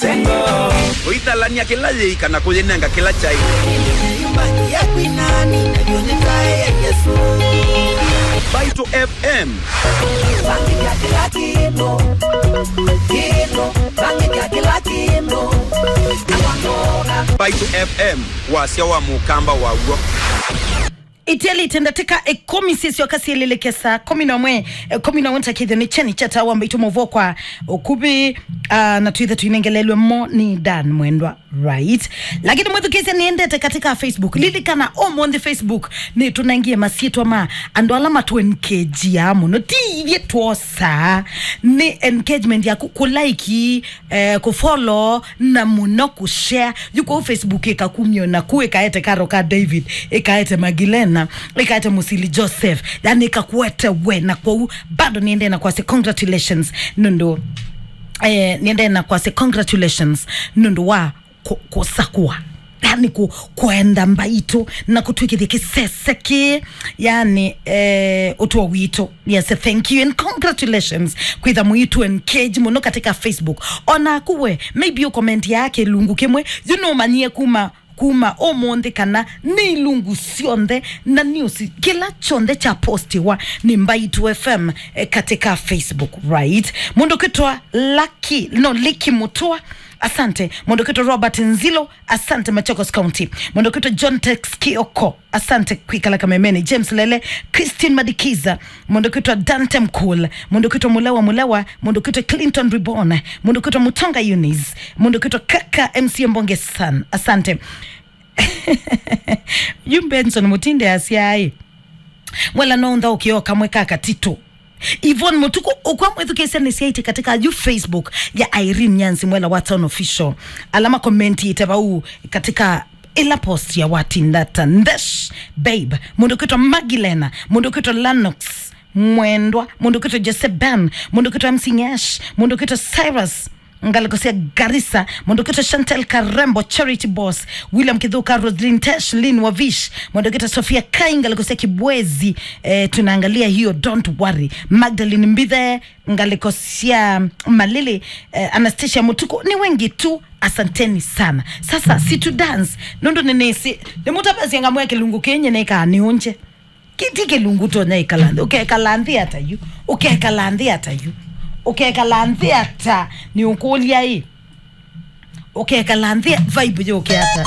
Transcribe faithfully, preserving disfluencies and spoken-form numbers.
Ũithalany'a kĩla yĩika na kũyĩnenga kĩla kyaĩ. Mbaitũ F M. Mbaitũ F M, wasya wa mũkamba waw'o. Itialĩte ndatĩka ĩkũmi sisyoka syĩlĩlĩke saa kũmi na ũmwe, eh, kũmi na ũmwe ntakĩthyo nĩ kyeni kya tawa mbaitũ mũvokwa ũkuvĩ, ah, na twĩthe tũinengelelwe mo nĩ Dan Mwendwa, right? Lakini mwĩthukĩĩsya nĩendete katika Facebook. Lilikana, ũmũnthĩ Facebook nĩtũnengie masyĩtwa ma andũ ala matũenkejiaa mũno. Ti ithyĩ twosaa, nĩ engagement yaku, kũlaiki, eh, kũfollow, na mũno kũshare. Yu kũu Facebook ĩkakumya naku, ĩkaete karo ka David, ĩkaete Magilena, ĩkaete Mũsili Joseph, yani ĩkakuete we, na kwoou bado niendee na kwasya congratulations nũndũ, eh, niendee na kwasya congratulations nũndũ wa kũ- kũsakũa, yani kũ- kũenda mbaitũ na kũtwĩkĩthya kĩsese kĩ, yani, eh, ũtũo witũ. Yes, thank you and congratulations kwĩtha mũitũ engage mũno katika Facebook. Onaku we, maybe ũkomenti ya kĩlungu kĩmwe, yu nũmanyie kuma, kuma ũmũnthĩ kana nĩ ilungu syonthe na news, kĩla kyonthe kya postiwa nĩ Mbaitũ F M, eh, katika Facebook, right? Mũndũ kwĩtwa Lucky, no, Liki Mũtũa, asante. Mũndũ kwĩtwa Robert Nzilo, asante. Machakos County, mũndũ kwĩtwa John Tex Kioko, asante kwĩkala kamemeni. James Lele, Christine Madikiza, mũndũ kwĩtwa Dante Mkul, mũndũ kwĩtwa Mulewa Mulewa, mũndũ kwĩtwa Clinton Reborn, mũndũ kwĩtwa Mutonga Eunice, mũndũ kwĩtwa Kaka M C Mbonge San, asante. Yu Benson Mutinde asyaĩ, mwela no ntha ũkĩo kamwe ka katitũ. Yvonne Mutuku, ũkwa mwĩthukĩĩsya nĩ syaiti katika yu Facebook ya Irene Nyanzi, mwela wa Town Official. Ala makomentiĩte vau katika ĩla post ya Watindata Ndesh, babe, mũndũ kwĩtwa Magilena, mũndũ kwĩtwa Lanox Mwendwa, mũndũ kwĩtwa Jesse Ben, mũndũ kwĩtwa M C Nyash, mũndũ kwĩtwa Cyrus, ngalĩko sya Garissa, mũndũ kwĩtwa Chantel Karembo, Charity Boss, William Kithuka, Roslyn Tesh, Lynn Wavish, mũndũ kwĩtwa Sofia Kai, ngalĩko sya Kibwezi, eh, tunaangalia hiyo, don't worry. Magdalene Mbithe, ngalĩko sya Malili, eh, Anastasia Mutuku, ni wengi tu, asanteni sana. Sasa, si tu dance, nũndũ nĩnĩsĩ, nĩmũtavasya ngamwĩa kĩlungu kĩnye nĩkaa nĩũnje. Kĩti kĩlungu tonya ĩkala nthĩ. Ũkekala nthĩ ata yu? Ũkekala nthĩ ata yu? Ũkekala nthĩ ata? Nĩ ũkũlya ĩ. Ũkekala nthĩ vibe yũke ata?